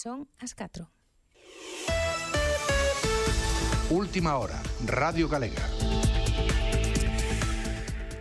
Son as 4. Última hora, Radio Galega.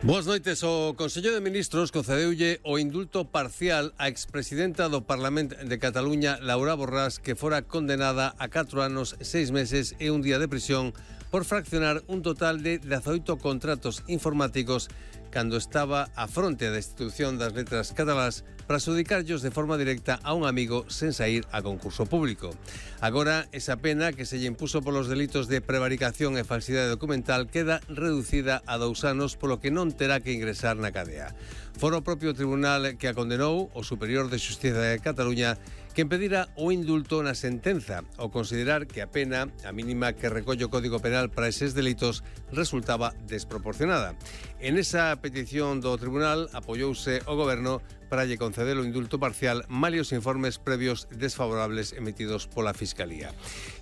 Boas noites. O Consello de Ministros concedeulle o indulto parcial á expresidenta do Parlamento de Cataluña, Laura Borràs, que fora condenada a 4 anos, 6 meses e un día de prisión por fraccionar un total de 18 contratos informáticos cando estaba á fronte da institución das letras catalás para adxudicarllos de forma directa a un amigo sen saír a concurso público. Agora, esa pena que se lle impuso polos delitos de prevaricación e falsidade documental queda reducida a 2 anos, polo que non terá que ingresar na cadea. Fora o propio tribunal que a condenou, o Superior de Xustiza de Cataluña, que impedira o indulto na sentenza, ao considerar que a pena, a mínima que recolle o Código Penal para eses delitos, resultaba desproporcionada. En esa petición do tribunal apoiouse o Goberno para lle conceder o indulto parcial malia os informes previos desfavorables emitidos pola Fiscalía.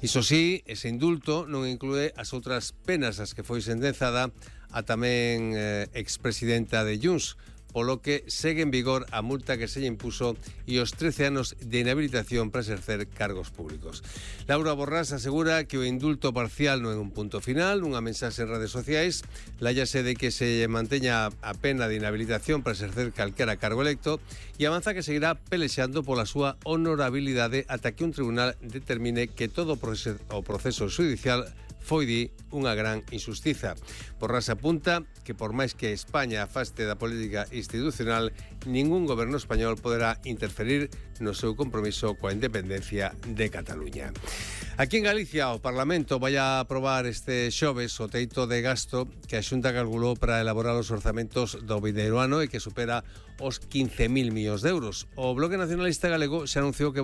Iso sí, ese indulto non inclúe as outras penas ás que foi sentenzada a tamén expresidenta de Junts, polo que segue en vigor a multa que se lle impuso e os 13 anos de inhabilitación para exercer cargos públicos. Laura Borràs asegura que o indulto parcial non é un punto final, unha mensaxe en redes sociais, lállase de que se manteña a pena de inhabilitación para exercer calquera cargo electo e avanza que seguirá pelexando pola súa honorabilidade ata que un tribunal determine que todo o proceso judicial foi, di, unha gran injustiza. Borràs apunta que por máis que España afaste da política institucional, ningún goberno español poderá interferir no seu compromiso coa independencia de Cataluña. Aquí en Galicia, o Parlamento vai a aprobar este xoves o teito de gasto que a Xunta calculou para elaborar os orzamentos do vindeiro ano e que supera os 15.000 millóns de euros. O Bloque Nacionalista Galego xa anunciou que